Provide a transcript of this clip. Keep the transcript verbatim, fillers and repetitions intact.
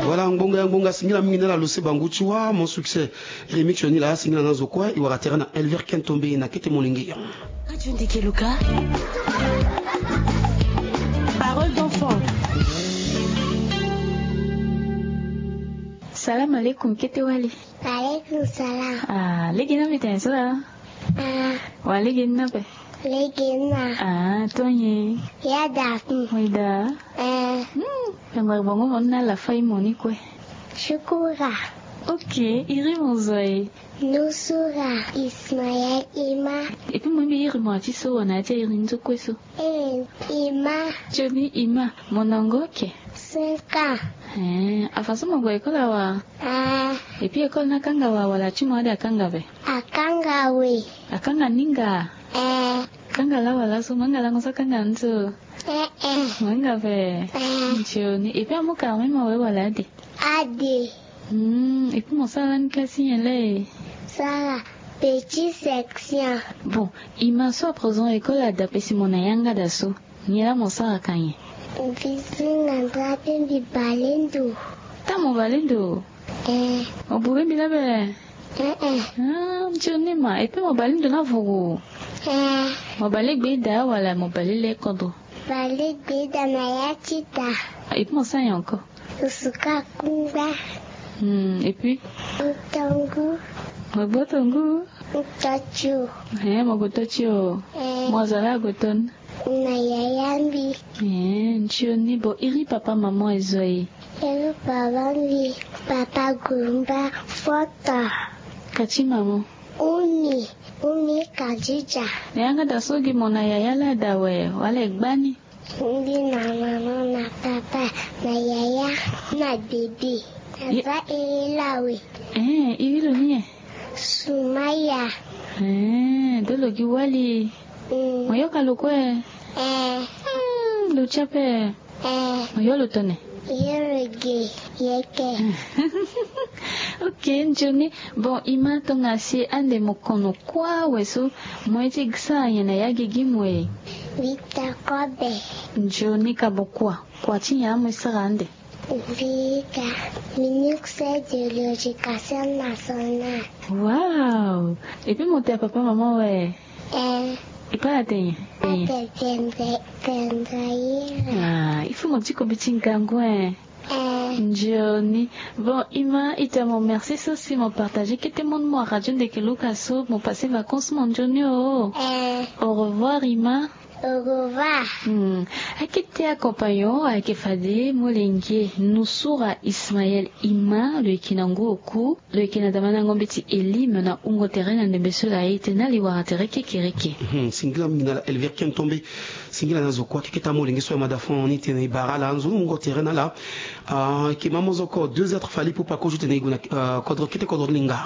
Voilà, ngbonga ya ngbonga, singila mingi na la lose bangu ti wa mon succès. Remix ni la, singila na zo kue, i wara tere na Elver Kentombe na kete molenge. Radio Ndeke Luka. Parole d'enfant. Salam alaikum, kete wali. Alaikum salam. Ah, lege na mbi tene so la. Ah. Wa lege na pe. Lege na. Ah, tonye. Ya da. Weda. Eh. Hmm. Yangba bongo mo na la fai mo ni kue. Shukura. Ok, iri mo zo e. Nusura Ismaël Ima. Et puis mo mbi iri mo ati so wa na ati iri nzo kue so. Eh, Ima. Johnny Ima, mo na ngo ke? Cinq ans. Eh, afa so mo gue école awa? Ah. Et puis école na kanga wa wala ti mo ade akanga be? Akanga we. Akanga ninga? Eh. Kanga la wala so, manga lango so kanga nzo. Eh, eh. Manga be. Eh. Johnny, et puis amu ka mema we wala ade? Ade. Hmm, et puis mo sara ni classe nyen la e? Sara petit section. Bon, Ima, so à présent école ada pe si mo na yanga da so. Nyen la mo sara ka nyen? Mbi zinga ndra pe mbi bale ndo. Ta mo bale ndo? Eh. Mo bure mbi la be? Eh, eh. Ah, Johnny ma, et puis mo bale ndo na vuru? Eh. Mo bale gbe da wala mo bale le kodro? Bale gbe da na ya ti da. Et puis mo sara nyen encore? Suka kungba. Hmm, et puis? Ntongu. Mo gboto ngu? Nto tio. Eh, mo gboto tio. Eh. Mo zo la gboto ni? Na yaya mbi. Eh, ntioni, bon, iri papa maman e zo e? Iri papa mbi, papa Gumba, foto. Ka ti maman? Umi, Umi Kadija. Na yanga da so gi mo na yaya la da we, wala e gba ni? Mbi na maman na papa na yaya na bébé. Ye- Aza iri lawe. Eh, iri lo ni e? Sumaya. Eh, do lo gi wali. Mm. Mo yoka lo kue? Eh. Hmm, lo ti ape? Eh. Mo yo lo tone? Yo lo gi yeke. Ok, ntioni. Bon, Ima, tongana si ande mo kono kue awe so, mo ye ti sara nyen na ya gigi mo e? Victor Kobe. Ntioni, ka mo kua, kua ti nyen amu e sara ande? Mbi ga ministre de l'éducation nationale. Wow! Et puis mo te papa maman we? Eh. E pa la te nyen? Ate vendre, vendre ye. Ah, il faut mo ti ko bi ti ngangu, hein. Eh. Ntioni. Bon, Ima, e te mo merci so si mo partager kete mo ni mo a radio Ndeke Luka so, mo passer vacances mo ntioni o. Eh. Au revoir, Ima. Au revoir. Hmm. Ayeke te accompagnon, ayeke fade molenge Nusura Ismaël Ima, lo yeke na ngu oku, lo yeke na dama na yango mbeti Elim na wungo tere na ndembe so la e tene na li wara tere kekereke. Hmm, singila mingi na la Elver Kentombe, singila na zo kue keke ta molenge so ya mada fon ni tene e bara la nzoni wungo tere na la. Ah, yeke ma mo zo ko deux heures Fally Ipupa ko zo tene e gue na, ah, kodro kete kodro linga.